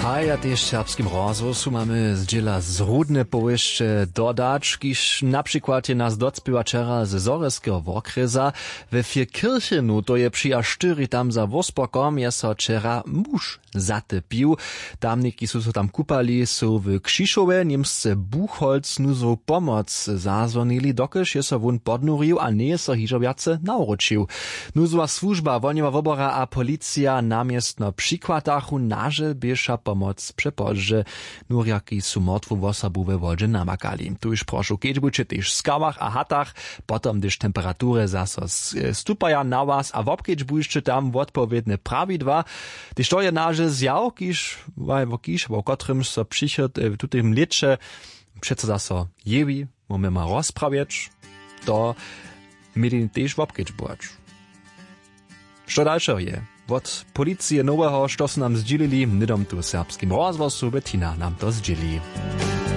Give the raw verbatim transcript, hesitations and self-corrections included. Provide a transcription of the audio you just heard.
A ja tež w serbskim rozhłosu mamy zdźěla z rudne powěsće dodać, kiž na přikład je nas docpěła wčera ze zhorjelskeho wokrjesa. We firkirchenu, to je při a štyri, tam za wóspokom je so wčera muž zatepił. Tamniki su so tam kupali, su w křišowje němsce buchholz nuzłow pomoc zazwonili, dokelž je so wón podnurił a njeje so hižo wjace nawróćił. Nuzłowa słužba, wohnjowa wobora a policija na městno přichwatachu, nažel běša pomoc přepozdźe. Nurjaki su mortwu wosobu we wodźe namakali. Tuž prošu kedźbujće tež w skałach a hatach, potom hdyž temperatury zaso s- stupaja na was a wobkedźbujće tam wotpowědne prawidła. Hdyž to je nažel zjaw, kiž wo kiž wo kotrymž so přichod w tutym lěće přeco zaso jewi, móhmy ma rozprawjeć, to měli tež wobkedźbować. Što dalšeho je wot policije noweho, što su nam zdźělili hnydom tu w serbskim rozhłosu? Bettina nam to zdźěli.